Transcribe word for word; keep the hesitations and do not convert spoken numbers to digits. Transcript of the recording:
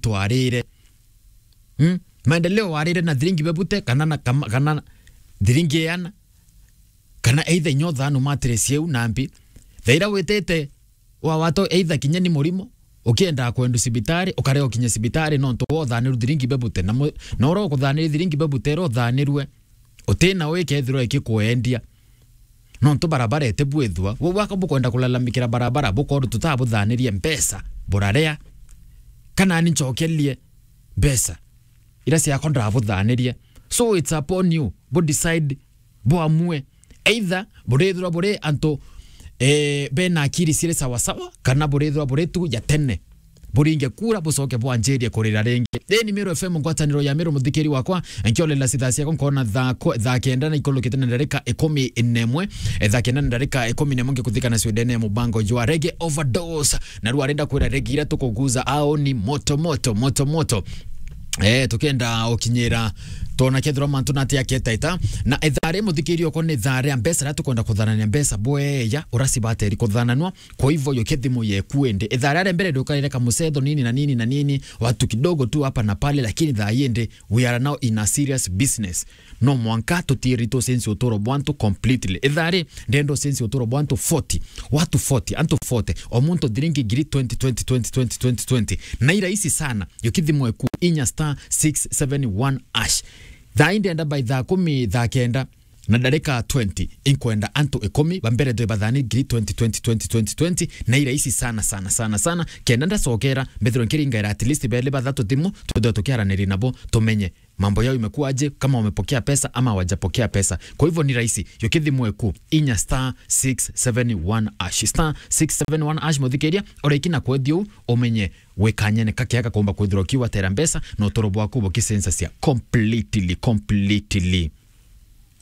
twarire. Hmm? Maendeleo warire na thiringi bebute, kana na, kama, kana thiringi iana, kana either inya uthanu matire cieu na mbi. Thaira witite wa wato either kinya ni murimo, ukienda kwendu cibitari, ukare ukinye cibitari nontu wa uthaniru thiringi bebute. Na mu-, na ura ukuthaniria thiringi bebute, ira uthanirue, utina wi kethirwa ikikwendia. Nontu barabara itibwithua, we waka bukwenda kulalamikira barabara, bukorwo tutabuthanirie mbeca, burarea. Kana ni ncokerie mbeca ira ciakwa ndabuthanirie. So it's upon you, bu decide, buamue. Either burithirwa buri antu, eh, bena akiri ciri sawasawa, kana burithirwa buri tu ya tene. Buringe kura, bucoke bwanjirie kurira ringi. Ii ni Meru F M, ngwataniro ya Meru, muthikiri wakwa, nkiolela cithaa ciakwa, nkona thaa ko-, thaa kenda na ikulukite na ndarika ikumi na imwe. Eh, thaa kenda na ndarika ikumi na imwe, ngikuthika na ciundene ya mubango jwa Reggae Overdose. Na riu arenda kwira regi ira tukuguza ao ni moto, moto, moto, moto. Eh, tukenda ukinyira, twona kethirwa mantu nati aketaita. Na ithaa ri, muthikiri okwa, ni ithaa ria mbeca, ria tukwenda kuthanania mbeca bweya, uracibateri kuthananwa. Kwa hivyo, yo kethimo yeku indi. Ithaa ria mbere ndukarire kamucetho nini na nini na nini, watu kidogo tu hapa na pale, lakini thaa ii indi, we are now in a serious business. No mwanka tutiiri tucenjie uturo bwa antu completely. Ithaa ri, ndenda ucenjie uturo bwa antu forty. Watu forty, antu forty. O muntu thiringi ngiri twenty, twenty, twenty, twenty, twenty, twenty. Na i rahisi sana. Yo kethimo eku inya star six seven one hash. Thaa ii ndenda by thaa kumi, thaa kenda na ndarika twenty, inkwenda antu ikumi ba mbere ndwe bathani ngiri twenty, twenty, twenty, twenty, twenty, na i rahisi sana, sana, sana, sana. Kenda ndacokera, mbethirwe nkiringaira at least beli bathatu thimu, twithwe tukiaraniria nabo, tumenye mambo yao imekuwaje, kama wamepokea pesa ama hawajapokea pesa. Kwa hivyo ni rahisi, yo kethimo eku, inya star six seven one hash, star six seven one hash, muthikiria, ureki na kwethia uu, umenye gwikanyene kakia gakomba kwithirwa kiwatera mbeca, na uturo bwaku bukicenjacia completely, completely.